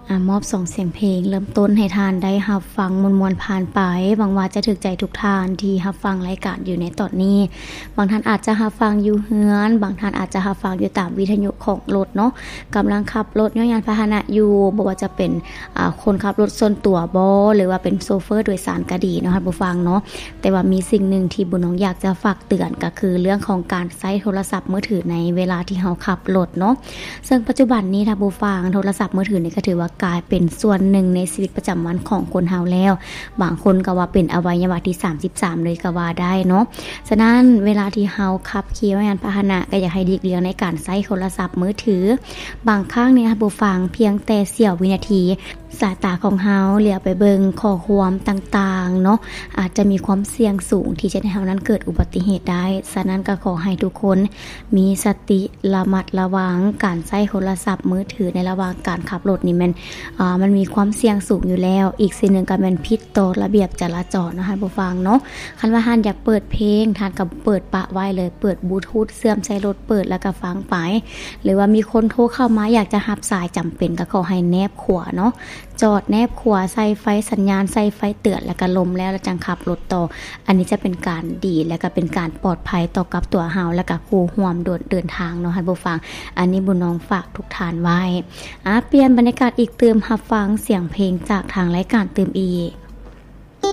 ອາ ມອບສອງສຽງເພງເລີ່ມຕົ້ນໃຫ້ທ່ານໄດ້ຮັບຟັງມ່ວນໆຜ່ານໄປ. ຫວັງວ່າຈະຖືກໃຈທຸກທ່ານທີ່ຮັບຟັງລາຍການຢູ່ໃນຕອນນີ້. ບາງທ່ານອາດຈະຮັບຟັງຢູ່ເຮືອນ, ບາງທ່ານອາດຈະຮັບຟັງຢູ່ຕາມວິທະຍຸຂອງລົດເນາະ, ກຳລັງຂັບລົດ ຍ້ອນຍານພາຫະນະຢູ່, ບໍ່ວ່າຈະເປັນ ອາ ຄົນຂັບລົດສ່ວນຕົວບໍ ຫຼືວ່າເປັນໂຊເຟີໂດຍສານກໍດີເນາະ ທ່ານຜູ້ຟັງເນາະ. ແຕ່ວ່າມີສິ່ງໜຶ່ງທີ່ບຸນນ້ອງຢາກຈະຝາກເຕືອນ ກໍຄືເລື່ອງຂອງການໃຊ້ໂທລະສັບມືຖືໃນເວລາທີ່ເຮົາຂັບລົດເນາະ. ເຊິ່ງປັດຈຸບັນນີ້ ທ່ານຜູ້ຟັງ, ໂທລະສັບມືຖືນີ້ກໍຖືວ່າກາຍເປັນສ່ວນໜຶ່ງໃນຊີວິດປະຈຳວັນຂອງຄົນເຮົາແລ້ວ. ບາງຄົນກໍວ່າເປັນອະໄວຍະວະທີສາມສິບສາມເລີຍກໍວ່າໄດ້ເນາະ. ສະນັ້ນ ເວລາທີ່ເຮົາຂັບຂີ່ຍານພາຫະນະ ກໍຢາກໃຫ້ຫຼີກລ່ຽງໃນການໃຊ້ໂທລະສັບມືຖື. ບາງຄັ້ງນີ້ ທ່ານຜູ້ຟັງ, ພຽງແຕ່ສຽວວິນາທີ ສາຍຕາຂອງເຮົາຫຼຽວໄປເບິ່ງຂໍ້ຄວາມຕ່າງໆເນາະ, ອາດຈະມີຄວາມສ່ຽງສູງທີ່ຈະເຮັດໃຫ້ເຮົານັ້ນເກີດອຸບັດຕິເຫດໄດ້. ສະນັ້ນກໍຂໍໃຫ້ທຸກຄົນມີສະຕິ ລະມັດລະວັງການໃຊ້ໂທລະສັບມືຖືໃນລະຫວ່າງການຂັບລົດນີ້ແມ່ນ ອາ ມັນມີຄວາມສ່ຽງສູງຢູ່ແລ້ວ. ອີກສິ່ງໜຶ່ງກໍແມ່ນຜິດຕໍ່ລະບຽບຈະລາຈອນເນາະ ທ່ານຜູ້ຟັງເນາະ. ຄັນວ່າທ່ານຢາກເປີດເພງ, ທ່ານກໍເປີດປະໄວ້ເລີຍ, ເປີດບລູທູດເຊື່ອມໃສ່ລົດ, ເປີດແລ້ວກໍຟັງໄປ. ຫຼືວ່າມີຄົນໂທເຂົ້າມາ ຢາກຈະຮັບສາຍ, ຈຳເປັນກໍຂໍໃຫ້ແນບຂົວເນາະ. ຈອດແນບຂົວ, ໃສ່ໄຟສັນຍານ, ໃສ່ໄຟເຕືອນ ແລ້ວກໍລົມແລ້ວ ແລ້ວຈັ່ງຂັບລົດຕໍ່. ອັນນີ້ຈະເປັນການດີ ແລ້ວກໍເປັນການປອດໄພຕໍ່ກັບຕົວເຮົາ ແລ້ວກໍຄູ່ຮ່ວມເດີນທາງເນາະ ທ່ານຜູ້ຟັງ. ອັນນີ້ບຸນນ້ອງຝາກທຸກທ່ານໄວ້. ອາ ປ່ຽນບັນຍາກາດອີກຕື່ມ, ຮັບຟັງສຽງເພງຈາກທາງລາຍການຕື່ມອີກ.